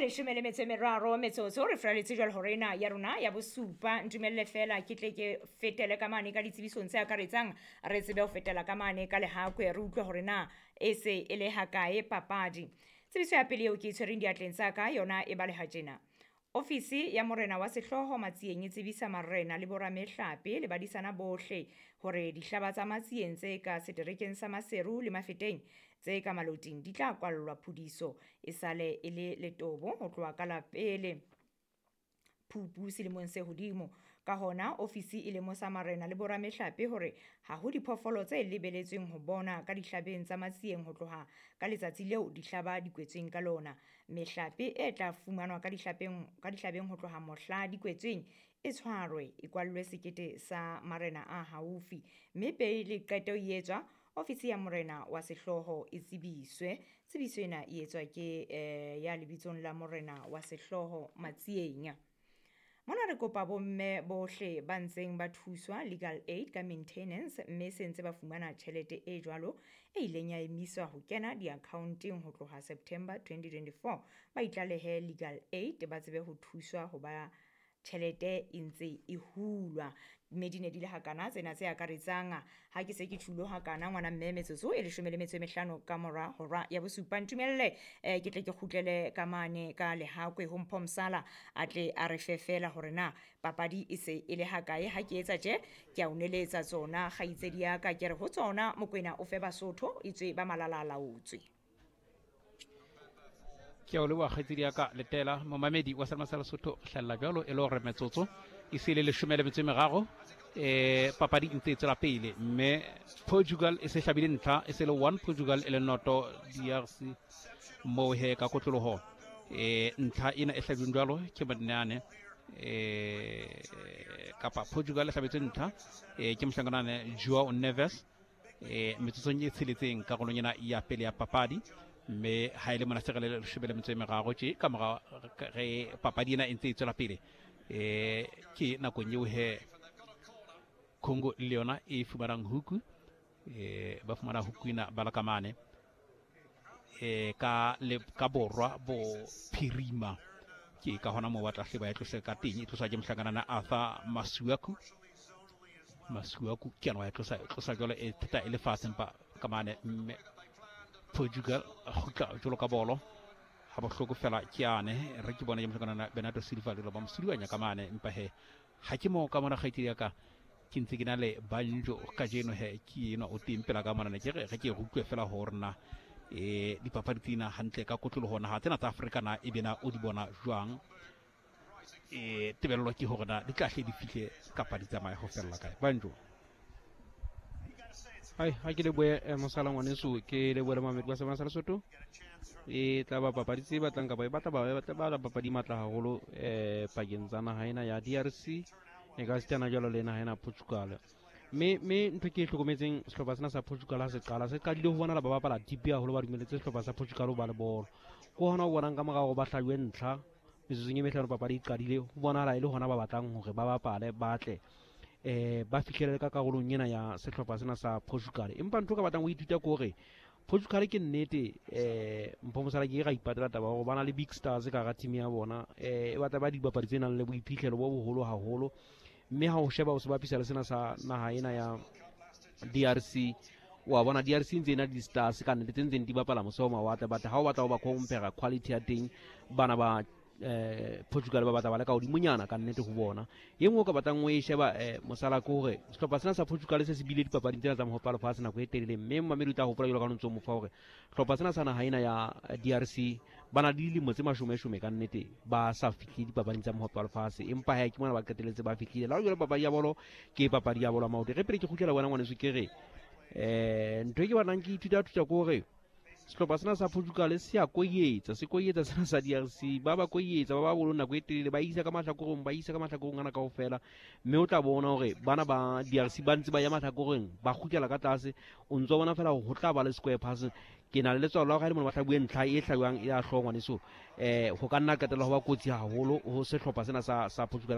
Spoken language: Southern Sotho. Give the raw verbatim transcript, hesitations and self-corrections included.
Leshome le metso e meraro metsotso re furaletse jwale hore ena ya rona ya bosupa. Ntumelle fela ke tle ke fetele ka mane ka ditsebisong tse akaretsang, re tsebe ho fetela ka mane ka Lehakwe, re utlwe hore na e se e le hakae papadi. Tsebiso ya pele eo ke e tshwereng diatleng tsa ka yona e baleha tjena. Ofisi ya morena wa sehlooho Matsieng e tsebisa marena le boramehlape le badisana bohle hore dihlaba tsa Matsieng tse ka seterekeng sa Maseru le Mafeteng tse ka Maloting di tla kwallwa phudiso e sale e le letobo ho tloha ka la pele Phupu selemong se hodimo. Ka hona ofisi e lemosa marena le boramehlape hore ha ho diphoofolo tse lebeletsweng ho bona ka dihlabeng tsa Matsieng ho tloha ka letsatsi leo dihlaba di kwetsweng ka lona. Mehlape e tla fumanwa ka dihlapeng ka dihlabeng ho tloha mohla di kwetsweng e tshwarwe, e kwallwe sekete sa marena a haufi, mme pele qeto e etswa, ofisi ya morena wa sehlooho e tsebiswe. Tsebiso ena e etswa ke eh, ya lebitsong la morena wa sehlooho Matsieng. Mona re kopa bomme bohle ba ntseng ba thuswa legal aid ka maintenance, mme se ntse ba fumana tjhelete e jwalo e ileng ya emiswa ho kena di-account-eng ho tloha September twenty twenty-four, ba itlalehe legal aid ba tsebe ho thuswa ho ba tjhelete e ntse e hulwa. Mme di ne di le hakana tsena tse akaretsang. Ha ke se ke tjhulo hakana ngwana mme, metsotso e leshome le metso e mehlano ka mora hora ya bosupa. Ntumelle eh, ke tle ke kgutlele ka mane ka Lehakwe ho Mpho Msala a tle a re fe fela hore na papadi e se e le hakae. Ha ke etsa tje, ke a o neletsa tsona kgaitsedi ya ka, ke re ho tsona Mokwena o fe Basotho e tswe ba malala a laotswe. Ke a o leboha kgaitsedi ya ka Letela. Momamedi wa Selma sa Lesotho, hlalla jwalo e le hore metsotso e se le leshome le metso e meraro, eh papadi e ntse e tswela pele, mme Portugal e se hlabile ntlha, e se le one Portugal e le noto D R C moo he ka kotloloho. Eh ntlha ena e hlabilweng jwalo ke Modineane, eh kapa Portugal e hlabetswe ntlha, eh ke mohlankanane Joao Neves, eh metsotsong e tsheletseng karolong ena ya pele ya papadi. Mme ha e le mona se re le leshome le metso e meraro tje ka mora re papadi ena e ntse e tswela pele, eh ke nakong eo he Congo le yona e fumanang huku, eh ba fumana huku ena ba la ka mane, eh ka le ka borwa bo phirima, ke ka hona moo ba tla hle ba e tlose ka teng. E tloswa ke mohlankana Arthur Masuaku. Masuaku ke yena wa e tlosa, e tlosa jwalo e theta e le fatshe, empa ka mane mme Portugal kgutla jwalo ka bolo ha bohloko fela ke yane re ke bona ke mohlankana Bernardo Silva le ba mosuduanya ka mane, empa he ha ke mo ka mona kgaitsedi ya ka ke ntse ke na le banjo kajeno he ke enwa o teng pela ka mona, ne ke re re ke re utlwe fela hore na eh dipapadi tsena hantle ka kotloloho naha tsena tsa Afrika na e bena o di bona jwang, eh tebello ke hore na di tla hle di fihle kapa di tsamaye ho fella kae. Banjo. Hai, ha ke lebohe, eh, mosala ngwaneso, ke lebohe le mamedi wa Sebana sa Lesotho. E tla ba papadi tse batlang kapa e batla ba, e batla ba papadi matla haholo, eh, pakeng tsa naha ena ya D R C e ka sitana jwalo le naha ena Portugal. Mme, mme ntho ke e hlokometseng, sehlopha sena sa Portugal ha se qala, se qadile ho bonahala ba bapala deep haholo, ba dumelletse sehlopha sa Portugal ho ba le bolo. Ke hona ho bonang ka morao hore ba hlajuwe ntlha metsotsong e mehlano papadi e qadile, ho bonahala e le hona ba batlang hore ba bapale, ba tle, eh, ba fihlele ka karolong ena ya sehlopha sena sa Portugal. Empa ntho ka batlang ho ithuta ke hore Portugal ke nnete, eh, Mpho Mosala ke ra ipatela taba hore ba na le big stars ka hara team ya bona, eh, e batla ba dibapadi tse nang le boiphihlelo bo boholo haholo. Mme ha o sheba o se bapisa le sena sa naha ena ya D R C, wa bona D R C ntse e na le di-stars ka nnete tse ntseng di bapala mose ho mawatle, but ha o batla ho ba compare quality ya teng, bana ba, eh, Portugal ba batla ba le ka hodimonyana ka nnete ho bona. E nngwe o ka batlang o e sheba, eh, mosala ke hore sehlopha sena sa Portugal se se bile dipapading tsena tsa mohope wa lefatshe nako e telele, mme momamedi o tla hopola jwalo ka ha o ntso mo fa hore sehlopha sena sa naha ena ya D R C ba na le dilemo tse mashomeshome ka nnete ba sa fihle dipapading tsa mohope wa lefatshe, empa ha ke mona ba qetelletse ba fihlile. Le ha jwale papadi ya bolo ke papadi ya bolo ya maoto. Re pele ke kgutlela wena ngwaneso, ke re, eh, ntho e ke batlang ke ithuta thuta ke hore sehlopha sena sa Portugal se a koyetsa, se koyetsa sena sa D R C, ba ba koyetsa, ba ba bolo nako e telele, ba isa ka mahlakoreng, ba isa ka mahlakoreng ana kaofela, mme o tla bona hore bana ba D R C ba ntse ba ya mahlakoreng, ba kgutlela ka tlase. O ntso bona fela hore ho tla ba le square pass. Ke na le letswalo la hore ha e le mona ba hlabuwe ntlha e hlabjwang ya hlooho ngwaneso, eh, ho ka nna qetella ho ba kotsi haholo ho sehlopha sena sa, sa Portugal.